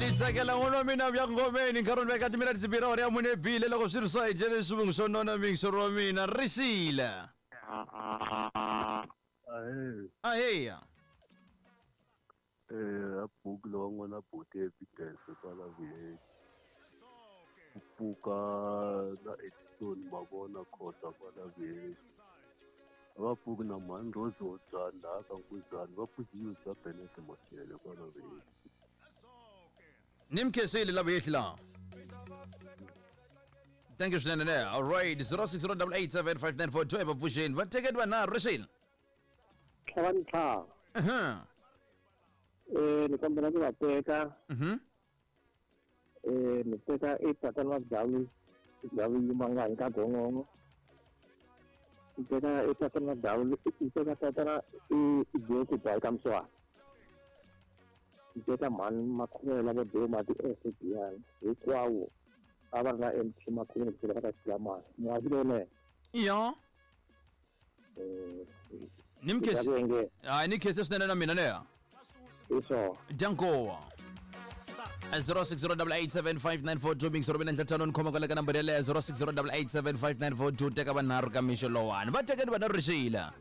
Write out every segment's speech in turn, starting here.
Ni tsakela n'wana wa mina bya ngomeni nkarhi ni veka timinete timbirhi awara ya mune bile loko swi ri swa hi dyele swivungu swo nona mingisoro wa mina risile. Ahee. Aheya. Eh, a buku lowa n'wana buti evidence kwala vuyeni. Ku pfuka na Edison mavona khosa kwala vuyeni. A va pfuki na mhani Rose Hodzani laha ka Nkuzani va pfuxiwe bya Bennett Mashele kwala vuyeni. Ni mi khensile lava yehli laha. Thank you swinene ne. All right, 0608875942 va pfuxeni. Va tekeni vanharhu rixile. Tlhava ni tlhava. Mhm. Eh ni kombela ku va teka. Mhm. Eh ni teka i tatana wa Gavi Gavi Yimangani ka Gongongo. Ni teka i tatana wa Gavi ni teka tatana i Joku Bai ka Mswana. Ni teka mhani Makhuvela vo Duma ti SBN hinkwawo a va ri na MT Makhuvela ku va ka Xilamani. Muhaxi lowunene. Ya. Ni mi khensi. Hayi ni khense swinene na mina leya. Hi swona. Dyankowa. 0608875942 mingisoro mina ntlhatlhano ni khoma kwale ka nambara yeleyo 0608875942 teka vanharhu ka mixo lowani va tekeni vanharhu rixila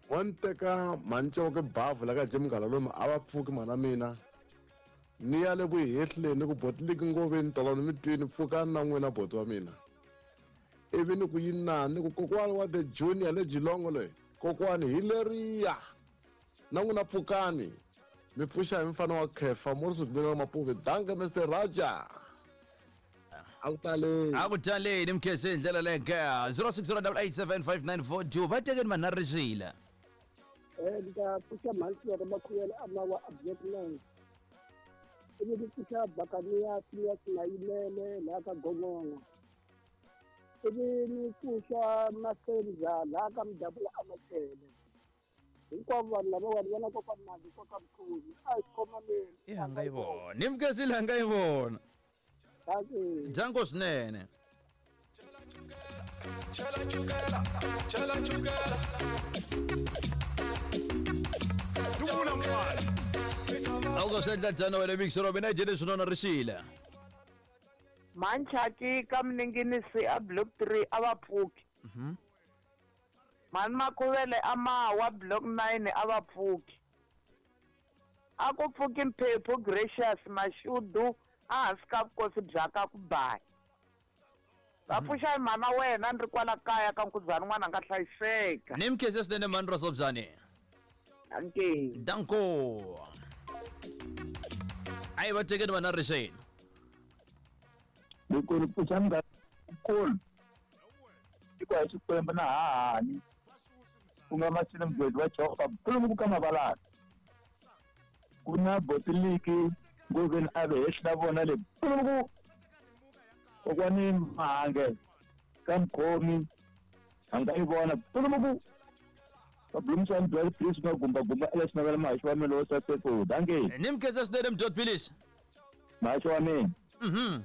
wa ni teka mhani bavhu la ka jim lomu a va pfuki mhana mina ni ya le vuhehleni ni ku botiliki ngoveni tolani mi twini pfukani na n'wina boti wa mina ivi ni ku yinani ni ku kokwani wa the junior le jilongo loyi kokwani hi leriya na n'wina pfukani mi pfuxa hi mfana wa khefa morris gumeni wa mapuve danke mr raja a ku taleni a ku taleni mkhese hi ndlela leyo ke 0608875942 va tekeni vanharhu rixila Eh, ni ta pfuxa mhani Siyaka Makhuyele a mawa a Black Nine. Ivi ni pfuxa Bakaniya Phineas Mayimele laha ka Gongongo. Ivi ni pfuxa Masenza laha ka Mudabula a Machele. Hinkwavo vanhu lavawani va na kokwani Mali koka Mkhuzi. A hi khomaneni. i hanga yi vona ni mkhesile hanga yi vona Dankie. dyanko swinene a ku swi endla tano wena mixero mina dyele swinona rixile Manchaki ka Mninginisi a block 3 a va pfuki. Mhani Makhuvele a mawa block 9 a va pfuki. A ku pfuki Mphephu Gracious Mashudu a hansi ka vukosi bya ka ku baya. Va pfuxa hi mhana wena ni ri kwala kaya ka Nkuzani n'wana a nga hlayiseka. Ni mkhese swinene mhani Rosobyani. Dankie. Danko. A yi va tekeni vana rixeni. Loko ni pfuxa munghana nkulu tiko ya Xikwembu na hahani ku nga Masini Mgwedi wa Jehovha Nkuluku ka Mavalana ku na botiliki ngoveni a ve hehli na vona le Nkuluku kokwani Mahange ka Mkhomi a nga yi vona Nkuluku Babulumsani Blood Please nga gumba gumba Alex Navela mahaxi wa mina lowo saseko danke Ni mkhese swinene Mdot Philisi. Mahaxi wa mina. Mhm.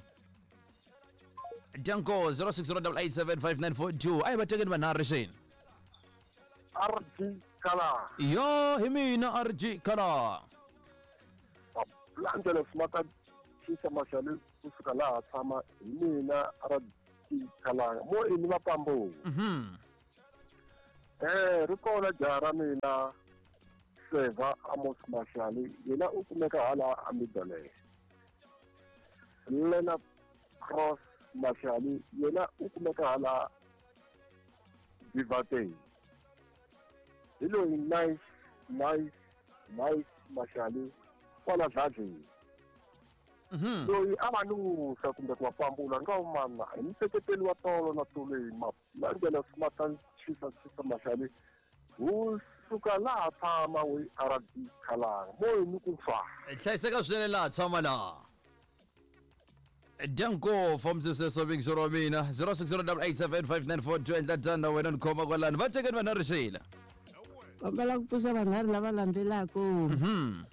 Danko 0608875942 a yi va tekeni vanharhu rixeni. RG Kala. Yo hi mina RG Kala. Landzela Smata Chisa Mashale kusuka laha tshama hi mina RG Kala. Mo ini vapambo. Mhm. Eh ri kona jaha ra mina Seva Amos Mashale yena u kumeka hala a Midale. Leonard Cross Mashale yena u kumeka hala Divateng. Hi loyi nice nice nice Mashale kwala Dladleni. Loyi a va nusa kumbe ku va pambula nga umana hi museketeli wa tolo na tolweni Malandela Smata Chisa Chisa Mashale wu suka laha tshama wu RD Khalanga mo ni ku fa. Hlayiseka swinene laha tshama laha. Danko from sweswo vingizoro wa mina 0608875942 endla tano wena ni khoma kwalano va tekeni vanharhu rixila. Kombela ku pfuxa vanharhu lava landzelaka. Mhm.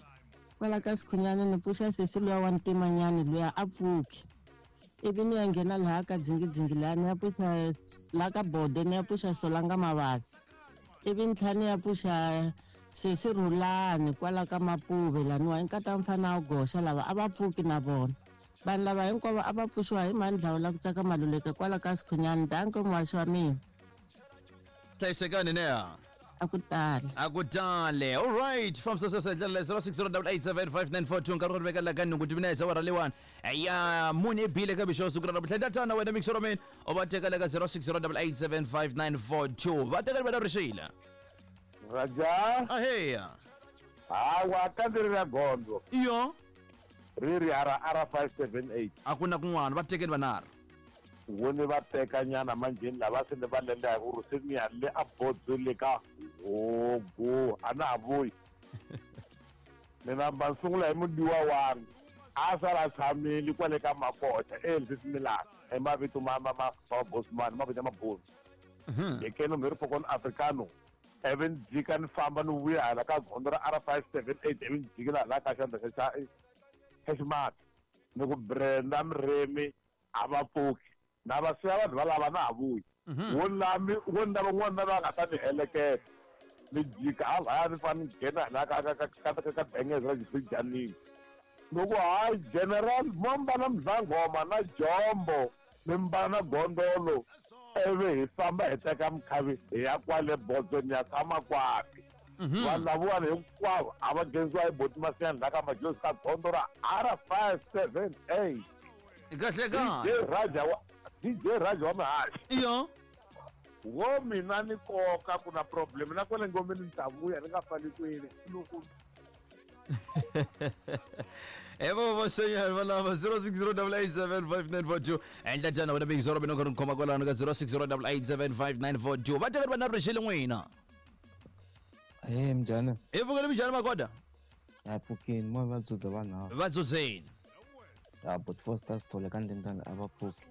Kwala ka Sikhunyana ni pfuxa sesi luya wa ntimanyani luya a pfuki. Ivi ni ya nghena laha ka dzingidzingi laha ni ya pfuxa laha ka bode ni ya pfuxa Solanga Mavasa. Ivi ni tlhela ni ya pfuxa Sesi Rhulani kwala ka Mapuve laniwa i nkata mfana wa goxa lava a va pfuki na vona. Vanhu lava hinkwavo a va pfuxiwa hi mhani Dlawula ku tsaka Maluleke kwala ka Sikhunyani. Danko muhaxi wa mina. Hlayisekani neha. A ku tale. A ku tale. All right. Fambisa sweswo hi ndlela leyi 0608875942 nkarhi wo ri veka la ka nhungu timinetse awara leyiwani ya mune ebile ka mixo siku ra namuntlha ndatana wena mixo ra mina u va teka le ka 0608875942 va teka ri vana rixile Raja. Aheya. Hawa ka ndzi ri na gondzo. Iyo. Ri ri R R 578. A ku na kun'wana va tekeni vanharhu. Wo ni va teka nyana manjheni lava se ni va lenda hi ku ri se ni ya le a bodzo le ka hogo a na ha vuyi. Ni namba ni sungula hi mudiwa wami a sala a tshamile kwale ka makocha eLisi Milani hi mavito ma ma ma ma bosman mavito ya mabunu. Hi keno mi ri pokon africano ivi ni jika ni famba ni vuya hala ka gondzo ra R 578 ivi ni jikela hala ka xandla xa xa xa ximatsi ni ku Brenda Mremi a va pfuki na va siya vanhu valava na ha vuyi wo lami wo ni lava n'wana na loyi a nga ta ni heleketa ni jika halaya ni fane ni nghena hala ka ka ka ka ka ka bengeze ra xibirijanini ni ku hayi general mo mbala muzanghoma na jombo mi mbala na gondolo ivi hi famba hi teka mukhavi hi ya kwale bodzweni ya tshama kwapi vanhu lavawani hinkwavo a va nghenisiwa hi boti masiyani la ka majozi ka gondzo ra R 578 kahle kahle DJ Raja wa DJ Raja wa mihaxi iyo wo mina ni koka ku na problem na kwale ngomeni ni ta vuya ni nga fani kwini loko evo vaxanyani valava 0608875942 endla njhani wena bingizoro mina ku ri khoma kwalano ka 0608875942 va tekani va na rixile n'wina Hey mjana. Hi pfukile minjhani makoda? Ya pfukini mo va dzudza vanhu ava. Va dzudzeni. Ya but Foster Sithole ka ndendana a va pfuki.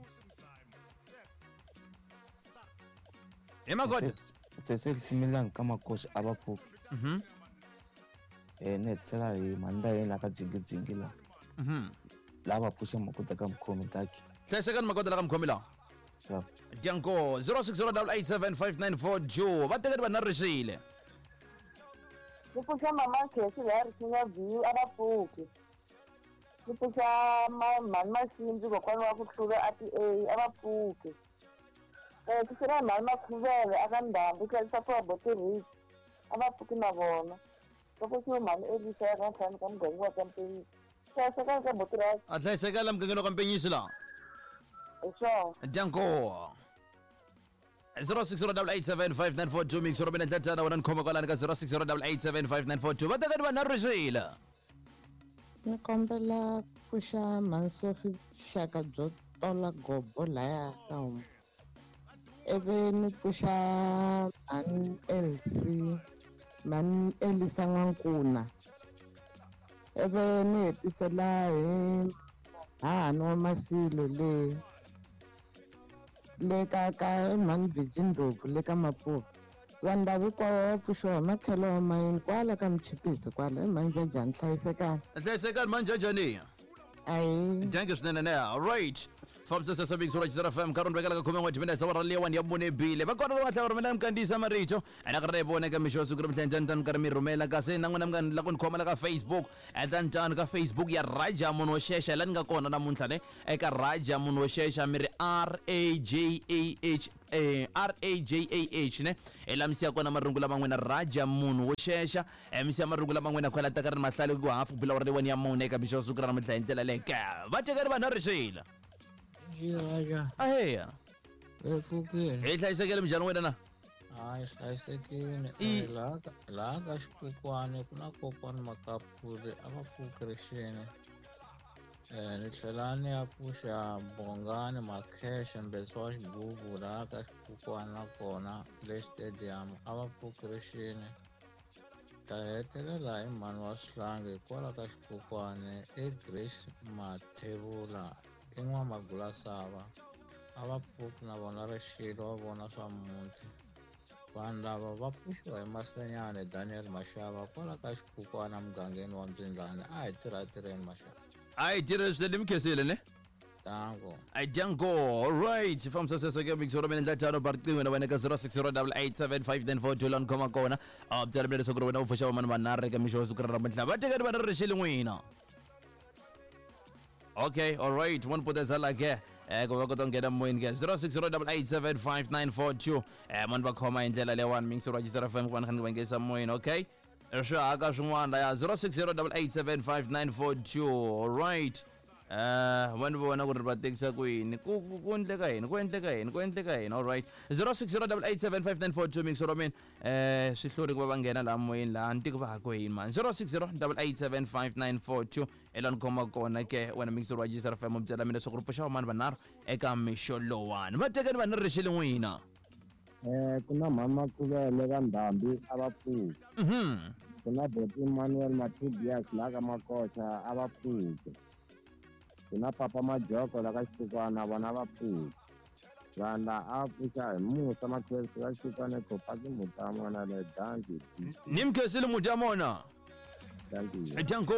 Hi makoda. Cecil Similani ka makosi a va pfuki. Eh ni hetisela hi mhani ta yena ka dzingidzingi la. La va pfuxa makoda ka mukhomi taki. Hlayisekani makoda la ka mukhomi lawa. Sure. Dyanko 0608875942 va tekani va na rixile. Ni pfuxa mama Khesi laha Risinya View a va pfuki. Ni pfuxa mhani Masindzi kokwana wa ku hlula a ti A a va pfuki. Pfuxela mhani Makhuvele a ka Ndhambi ku hlayisa ku va Rich a va pfuki na vona. Va pfuxiwe mhani Elisa ya ka ntlhanu ka muganga wa ka Mpenyisi. Hlayisekani ka boti ra A hlayisekani la mugangeni wa ka Mpenyisi laha. hi swona. Dyanko 0608875942 mix robina ndlatana wena ni khoma kwalani ka 0608875942 va tekani va na rixile. Ni kombela pfuxa mhani xaka byo tola gobo laya ka homu. Ivi ni pfuxa mhani Elsie, mhani Elisa N'wankuna. Ivi ni hetisela hi hahani wa Masilo le le ka ka mhani Virgin Ndlovu le ka Mapuva. Vanhu lava hinkwavo va pfuxiwa hi makhelo wa mayini kwala ka Mchipisi kwala i mhani Jajani hlayisekani. Hlayisekani mhani Jajani. Ayi. Thank you swinene ne. All right. Fambisa sesa big sura Chizara FM nkarhi vekela ka khume n'we timinetse awara leyiwani ya mune bile va kona lava nga tlhela va rhumela minkandziyiso ya marito ene ka ri vona eka mixo wa siku ra mihla njhani tani karhi mi rhumela kasi na n'wina mi nga la ku ni khoma la ka Facebook endla njhani ka Facebook ya Raja munhu wo xexa la ni nga kona namuntlha ne eka Raja munhu wo xexa mi ri R A J A H R A J A H ne hi la mi siya kona marungu lama n'wina Raja munhu wo xexa mi siya marungu lama n'wina kwala ta ka ri ni mahlale ku hafu ku bila awara leyiwani ya mune eka mixo wa siku ra namuntlha hi ndlela leyi ka va tekani vanhu a rixile Raja. Aheya. Hi pfukile. Hi hlayisekile minjhani wena na? Hayi hlayisekile. Laha ka laha ka xikwekwani ku na kokwani Makapuli a va pfuki rixini. Ni tlhela ni ya pfuxa Bongani Makheshe mbetsi wa xigubu laha ka xikwekwani nakona le stadium a va pfuki rixini. Ta hetelela hi mhani wa swihlangi kwala ka xikwekwani i Grace Mathebula i N'wamagulasava a va pfuki na vona rixilo va vona swa muti. Vanhu lava va pfuxiwa hi Masenyane Daniel Mashava kwala ka xikukwana mugangeni wa Mbyindlani a hi tirha tirheni Mashava. A hi tirheni swinene mi khensile ne? Danko. Danko, alright. Fambisa sweswo ke mixo ra mina ndla tano ba riqingho na wena ka 0608875942 laha ni khoma kona. A byela mina leswaku ri wena u pfuxa vamani vanharhu eka mixo wa siku ra namuntlha. Va tekani va ri rixile n'wina. Okay, alright. One potezela ke. Ku va kota ku nghena moyeni ke 0608875942. Mani va khoma hi ndlela leyiwani mixo ra Jisara FM ku va ni kha ni va nghenisa moyeni, okay? Swi haka swin'wana laya 0608875942. Alright. Va ni vona ku ri va tekisa ku yini ku ku ku endleka yini ku endleka yini ku endleka yini alright 0608875942 mixo ra mina swi hluri ku va va nghena laha moyeni laha ni tiko va ha ku yini mani 0608875942 hi laha ni khoma kona ke wena mixo wa Jisara FM byela mina leswaku ri pfuxa vamani vanharhu eka mixo lowani va tekeni va ni rixile n'wina. Ku na mhama Khuvele va Ndhambi a va pfuki. Ku na Boti Emmanuel Mathibias laha ka Makoxa a va pfuki. Ku na Papa Majoko la ka Xitukwana vona va pfuki. Vanhu la a va pfuxa hi musa Makhwesi ka Xitukwana Khopaki Mutamona le danki. Ni mkhesile Mutamona. Danki. Danko.